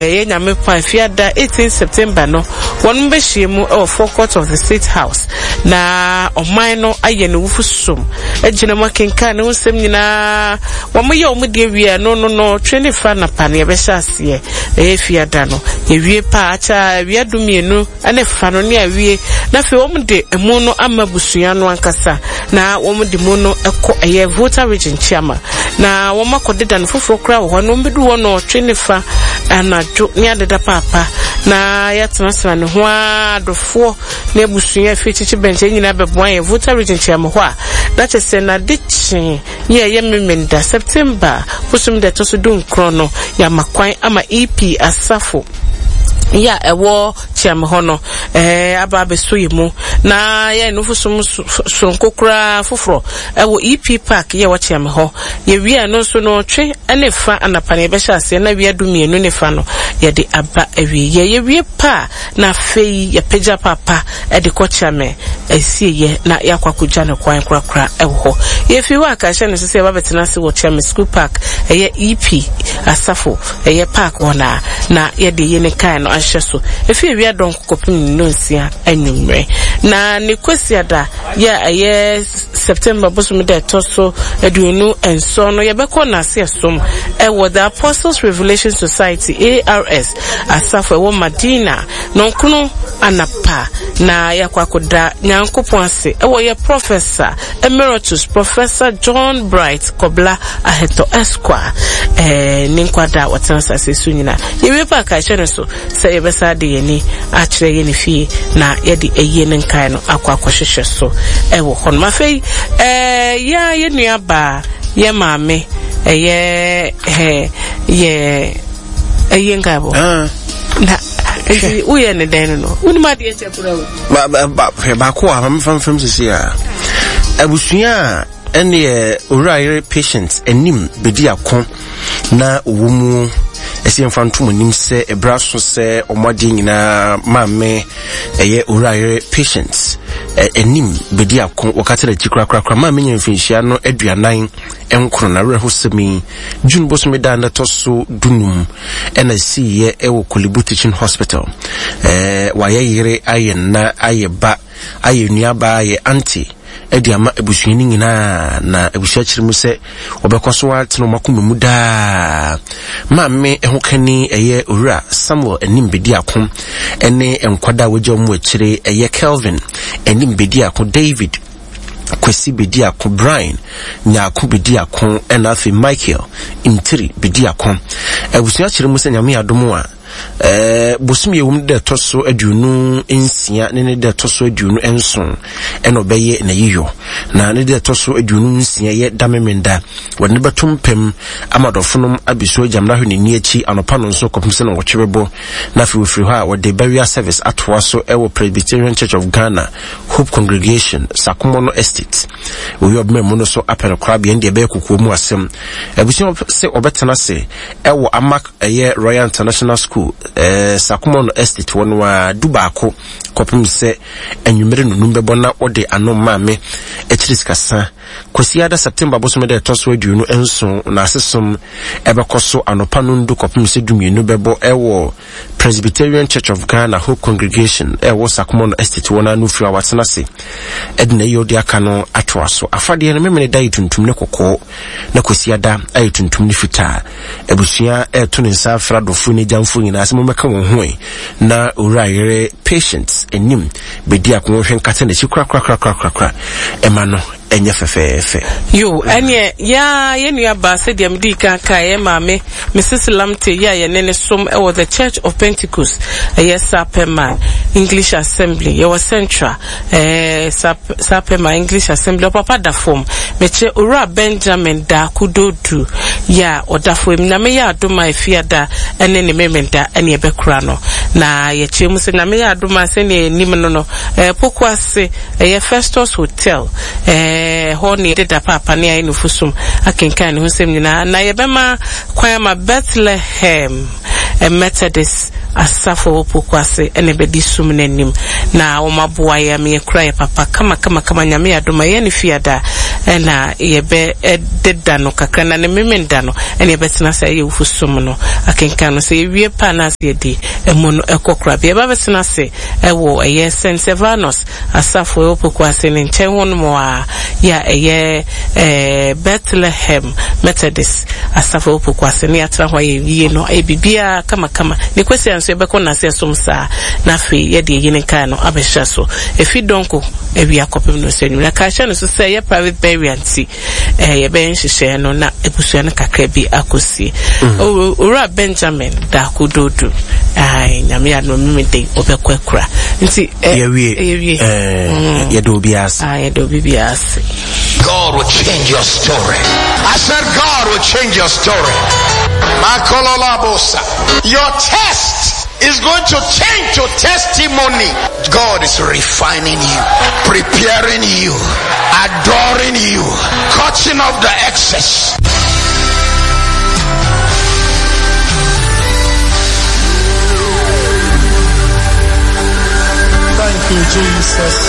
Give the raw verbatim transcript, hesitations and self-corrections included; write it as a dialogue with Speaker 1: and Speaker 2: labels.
Speaker 1: Ɛyɛ Nyame kwan, Fiada eighteen September no, wɔnom bɛhyia mu wɔ forecourt of the State House na ɔman no ayɛ ne wufo som agyina mu akenkan ne ho nsɛm nyinaa. Wɔn yɛ wɔn deɛ wie a, no no no twe ne fa anapa no yɛbɛhyɛ aseɛ. Ɛyɛ Fiada no, yɛwie paa akyɛ awia du mmienu ne fa no ne awie, na afei wɔn de emu no ama abusua no ankasa na wɔn de mu no kɔ ɛyɛ Volta Region Kyiama na wɔn akɔdeda no foforɔ koraa wɔ hɔ, na wɔn bɛdu hɔ no ɔtwe ne fa anadwo ne adeda paapa na yɛatenatena ne ho ara, adɔfoɔ ne abusua afie kyekye bɛnkyɛn nyinaa bɛboa yɛn Volta Region Kyiama hɔ a, na kyerɛ sɛ n'ade kyee yɛ ɛyɛ Memenda September bosom da ɛtɔ so du nkron no, yɛama kwan ama E P Asafo yɛ a ɛwɔ Kyiame hɔ no ɛɛ aba abɛso yɛ mu na yɛn nufosom soronko koraa foforɔ ɛwɔ E P Park yɛ wɔ Kyiame hɔ. Yɛwie a, no nso no twe ne fa anapa no yɛbɛhyɛ aseɛ na wia du mmienu ne fa no yɛde aba awie. Yɛ yɛwie pa na afei yɛpagya papa ɛde kɔ Kyiame asieyɛ na yɛakɔ akɔgya no kwan korakora ɛwɔ hɔ. Yɛfiri hɔ a, ka hyɛ no so sɛ yɛba bɛtena ase wɔ Kyiame School Park, ɛyɛ E P Asafo ɛyɛ park hɔ na na yɛde yɛ ne kan no ahyɛ so efi ewia dɔn kɔpem nnonsia anwummerɛ. Na ne Kwasiada yɛ ɛyɛ September bosom da ɛtɔ so aduonu nson no, yɛbɛkɔ n'ase ɛsom ɛwɔ The Apostles Revelation Society, A R S Asafo ɛwɔ Madina nɔnkono anapa na yɛakɔ akɔda Nyankopɔn ase ɛwɔ yɛ Professor Emeritus Professor John Bright Kɔbla Ahɛtɔ Esquire ɛɛ ne nkwada a wɔtena asase so nyinaa. Yɛwie pa aka ɛhyɛ no so sɛ yɛbɛsa de yɛn ani akyerɛ yɛn ne fie na yɛde ayie ne nkae no akɔ akɔhyehyɛ so ɛwɔ hɔnom. Afei ɛɛ yɛa yɛ nua baa, yɛ maame, ɛyɛ ɛɛ yɛ ɛyɛ nkaebɔ
Speaker 2: Ah.
Speaker 1: na nti woyɛ ne dɛn no no wonim adeɛ kyɛ kora o.
Speaker 2: Ba- ba- ba- hwɛ baako a mamfa mfam sisi a abusua a ɛneɛ Owura Yere Patient Anim bɛdi ako na ɔwɔ mu ɛsɛ yɛmfa ntom anim sɛ ɛberɛ so sɛ ɔmo adeɛ nyinaa maame ɛyɛ Owura Yere Patient ɛ- anim bɛdi ako wɔka kyerɛ akyi korakorakora. Maame nya mfinhyia no aduanan nkron na awerɛhosɛm yi June bosome da na ɛtɔ so dunum ɛna siiɛ ɛwɔ Korle Bu Teaching Hospital. ɛɛ wayɛ yere, ayɛ nna, ayɛ ba, ayɛ nuabaa, ayɛ aunty ɛde ama abusua no nyinaa, na abusua kyerɛ mu sɛ wɔbɛkɔ so atena wɔn akoma mu daa. Maame ɛho kani ɛyɛ Owura Samuel Anim Bedi Ako ɛne nkwadaa a wɔagya wɔn akyire ɛyɛ Kelvin Anim Bedi Ako, David Kwasi Bedi Ako, Brian Nyaako Bedi Ako, ɛna afei Michael Ntiri Bedi Ako. Abusua kyerɛ mu sɛ Nyame adom a ɛɛ bosom yɛ wɔm da ɛtɔ so aduonu nsia ne ne da ɛtɔ so aduonu nson ɛna ɔbɛyɛ n'ayiyɔ, na ne da ɛtɔ so aduonu nsia yɛ damemenda wɔde ne bɛto mpam ama dɔfonom abɛsu agyamna hwɛ n'ani akyi anɔpa no nso kɔpem sɛ na wɔtwe bɛbɔ, na afei wɔfiri hɔ a wɔde burial service atoa so ɛwɔ Presbyterian Church of Ghana Hope Congregation, Sakomono Estate. Oyi ɔbɛma mu no so apɛ no korabea deɛ ɛbɛyɛ kokoɔ mu asɛm. Abusua sɛ ɔbɛtena ase ɛwɔ Amak ɛyɛ Royal International School, ɛɛ Sakomono Estate wɔ no a du baako kɔpem sɛ anwummere nonum bɛbɔ na wɔde ano maame akyiri sikasa. Kwasiada September bosome dɛ ɛtɔ so aduonu nson na asesom ɛbɛkɔ so anɔpa no ndu kɔpem sɛ dumienu bɛbɔ ɛwɔ Presbyterian Church of Ghana Hope Congregation ɛwɔ Sakomono Estate wɔ n'ano. Firi a watena ase ɛde na ɛyɛ ɔde aka no atoa so. Afadeɛ no memene da yɛ tuntum ne kɔkɔɔ na Kwasiada ayɛ tuntum ne fitaa. Abusua ɛɛto ne nsa afra dɔfo ne gyamfo nyinaa sɛ mommɛka wɔn ho ɛ na Owura Yere Patient Anim bɛdi ako hwɛ nkata n'akyi korakorakorakorakora ɛma no ɛnyɛ fɛfɛɛfɛ.
Speaker 1: Yo, ɛneɛ yaa yɛ nua baa, sɛdeɛ mede kan ka yɛ maame Missus Lamte yɛ a yɛne ne som ɛwɔ The Church of Pentecost, ɛyɛ Sapema English Assembly, yɛwɔ Central ɛɛ Sapema English Assembly. Ɔpapa da fam, mekyerɛ Owura Benjamin Daako Dodu yɛ a ɔda fam. Nyame yɛ adom a, Efiada ɛne ne Memenda ɛne ɛbɛkora no, na yɛkyerɛ mu sɛ Nyame yɛ adom a, sɛnea yɛnim no no ɛɛ Poko ase ɛyɛ Festus Hotel ɛɛ hɔ ne yɛdeda paapa ne ayɛ nufusom akenkan ne ho nsɛm nyinaa, na yɛbɛma kwan ama Bethlehem Methodist Asafo wɔ Poko ase ɛna ɛbɛdi sum n'anim na wɔn aboa yɛ ama yɛkura yɛ papa kama kama kama. Nyame yɛ adom a, ɛyɛ ne Fiada Ɛna yɛbɛ deda no kakra na ne Memenda no ɛna yɛbɛtena ase ayɛ awufo som no akenkan no. Sɛ yɛwie pa na ase yɛde ɛmu no ɛkɔ korabea. Yɛba bɛtena ase ɛwɔ ɛyɛ Saint Servanus asafo ɛwɔ Pokuase ne nkyɛn hɔ nom a yɛ a ɛyɛ ɛɛ Bethlehem Methodist asafo ɛwɔ Pokuase ne yɛatena hɔ ayɛ yie no, ayɛ biribiara kamakama. Ne kwasi nso yɛbɛkɔ n'ase ɛsom saa, na afei yɛde eyi ne nkae no abɛhyɛ so efi dɔnko awia kɔpem no sɛ nwura ka hyɛ no so sɛ ɛyɛ private burial, nti ɛɛ yɛbɛyɛ nhyehyɛeɛ no na ebusua no kakra bi akɔsie. Owura Benjamin Daako Dodo, ayi Nyame yɛ adom mímí de ɔbɛkɔ akura nti
Speaker 2: ɛ yɛwie.
Speaker 1: Yɛwie.
Speaker 2: Ɛɛ, yɛde obi ase.
Speaker 1: Ah, yɛde obi bi ase.
Speaker 3: God will change your story. I said God will change your story. Makololabosa. Your test is going to change to testimony. God is refining you, preparing you, adoring you, cutting off the excess.
Speaker 4: Thank you, Jesus.